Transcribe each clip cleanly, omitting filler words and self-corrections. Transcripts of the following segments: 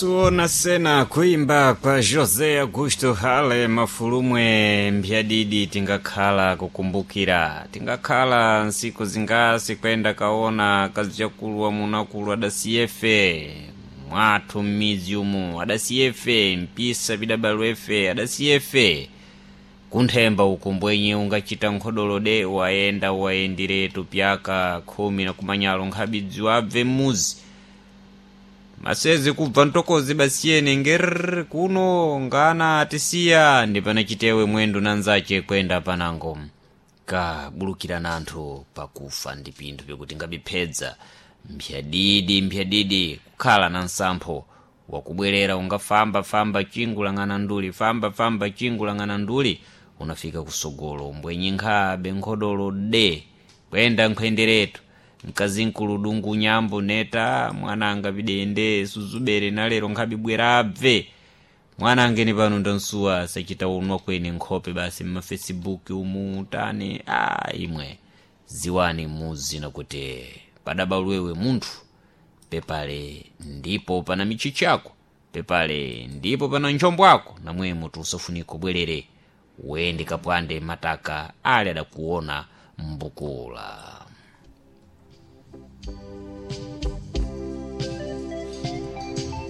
Tuona sena kuimba kwa José Augusto Hale mafulumwe mpyadidi tingakhala kukumbukira, tingakhala nsiku zingasi kwenda kaona kazichakulu wamunakulu adasiyefe mwathu m'midzi umu adasiyefe mpisa pidabalwefe adasiyefe kunthemba uku mbwenye ungachita nkhodolode wayenda wayendiretu pyaka 10 na kumanyalo nkhabidzi wabve m'muzi masezi kubva mtokozi basiyene ngerr kuno ngana atisiya ndi pana chitewe mwendo nanzache kwenda panango kabulukirana anthu pakufa ndi pinthu pikuti ngabiphedza mphyadidi mphyadidi kukhala na nsampho wakubwerera ungafamba-famba chingu lang'ana nduli famba-famba chingu lang'ana nduli unafika kusogolo mbwenye nkhabe nkhodolo de kwenda nkhwenderetu mkazinkulu dungu nyambo neta mwananga pidende suzubere nalero nkhabibwera abve mwanange ni pano ndansuwa sachita unwa kwene nkhope basi mmafacebook umu tani a imwe ziwani muzi nakuti padabalwewe munthu pepale ndipo pana michichi ako pepale ndipo pana nchombo ako namwemo tusafunika ubwerere wende kapwande mataka ali adakuona mbukula.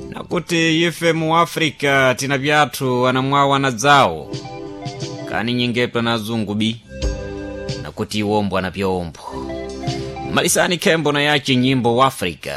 Nakuti ife mu Africa tina pyathu anamwawo anadzawo kani nyingepo na azungu bi nakuti iwombo anapyaombo malisani khembo na yace nyimbo wa Africa.